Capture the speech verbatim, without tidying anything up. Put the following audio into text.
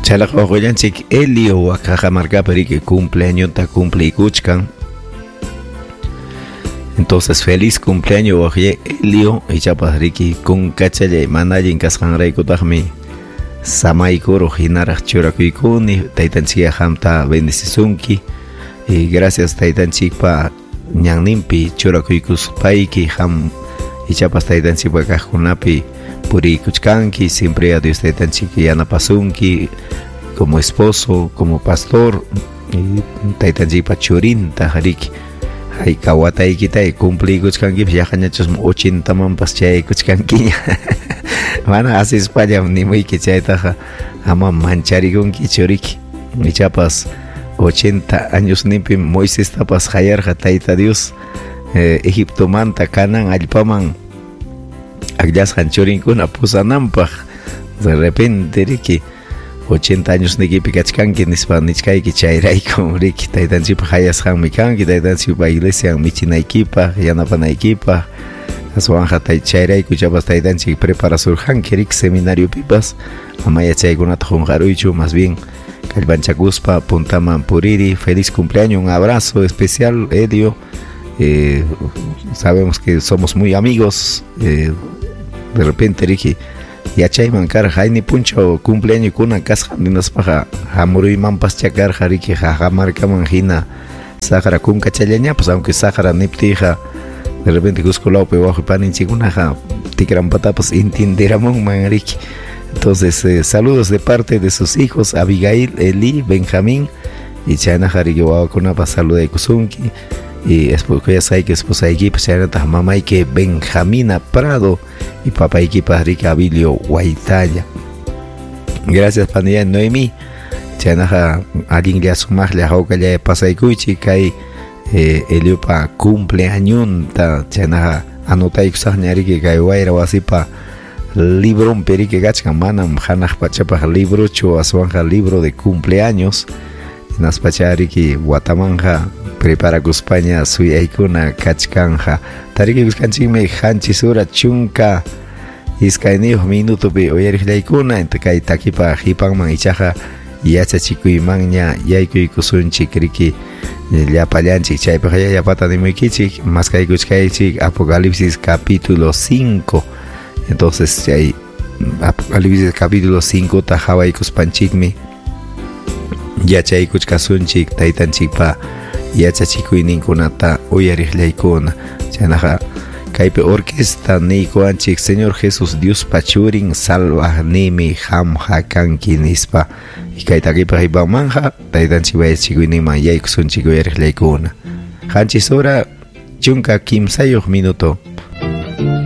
Chaylaqa wawqillanchik Elio Waqaqa riki cumpleañonta cumpliykuchkan. Entonces, feliz cumpleaños wawqillay Elio, ichapas riki kunkachallay mana allin kasqanraykutaqmi samaykuruq hinaraq churakuykuni. Taytanchikqa qamta bendecisunki. Y gracias taytanchikpa ñanninpi churakuykuspayki qam ichapas taytanchikpa kaqkunapi puriykuchkanki. Siempre a Dios taytanchik yanapasunki como esposo, como pastor, y taytanchikpa churinta riki hayka wataykita cumpliykuchkankipas, yaqañachus ochintamanpas chayaykuchkankiña. Mana asispallam nimuyki chaytaqa, ama mancharikunkichu riki. Ichapas ochenta años ninpim Moisestapas qayarqa Tayta Dios eh, Egiptomanta Canaán allpaman akllasqan churinkuna pusananpaq. De repente riki ochenta años nikipi kachkanki nispa nichkayki, chayraykum riki taytanchikpa qayasqanmi kanki, taytanchikpa iglesian michinaykipaq, yanapanaykipaq. Aswanqa chayrayku ichapas taytanchik preparasurqanki riki seminariopipas. Ama yachaykunata qunqaruychu, más bien kallpanchakuspa puntaman puriri. Feliz cumpleaños, un abrazo especial, Elio. Eh, sabemos que somos muy amigos. Eh, de repente riki yachayman karqa hayni punchaw cumpleaños kasqan hinaspaqa hamuruymanpaschá karqa riki Cajamarcaman hina saqra kunkachallañapas, aunque saqra niptiyqa de repente Cusco lawpi wawqi paninchikkunaqa tikrampatapas entienderamunman riki. Entonces, eh, saludos de parte de sus hijos Abigail, Eli, Benjamín y chaynaqa riki wawakunapas saludaykusunki. Y kuyasqayki esposaykipas, chaynataq mamayki Benjamina Prado y papaykipas riki Abilio Guaitalla. Gracias panilla Noemi. Chaynaqa allinlla sumaqlla hawkalla pasaykuychik kay eh, Eliopa cumpleañonta. Chaynaqa anotaykusaqña riki kay wayra wasipa libronpi riki kachkan, manam hanaq pachapaq librochu, aswanqa libro de cumpleaños. Hinaspacha riki watamanja preparakuspaña suyaykuna kachkanja. Tarikuykusqanchikmi qanchis hora chunka iskayniyuq minutopi uyariqllaykuna. Kay takipa qipanman ichaqa yachachikuymanña yaykuykusunchik riki llapallanchik. Chaypiqa llapata nimuykichik, maskaykuchkaychik Apocalipsis capítulo cinco. Entonces chay Apocalipsis capítulo cinco ta qhawaykuspanchikmi yachaykuchkasunchik taytanchikpa yachachikuyninkunata uyariqllaykuna. Chaynaqa kaypi orquesta niykuwanchik Señor Jesús Diospa churin salvaqnimi qamqa kanki nispa. Y kay takipa qipanmanja taytanchikpa yachachikuyninman yaykusunchik uyariqllaykuna. Qanchis hora chunka kimsayuq minuto.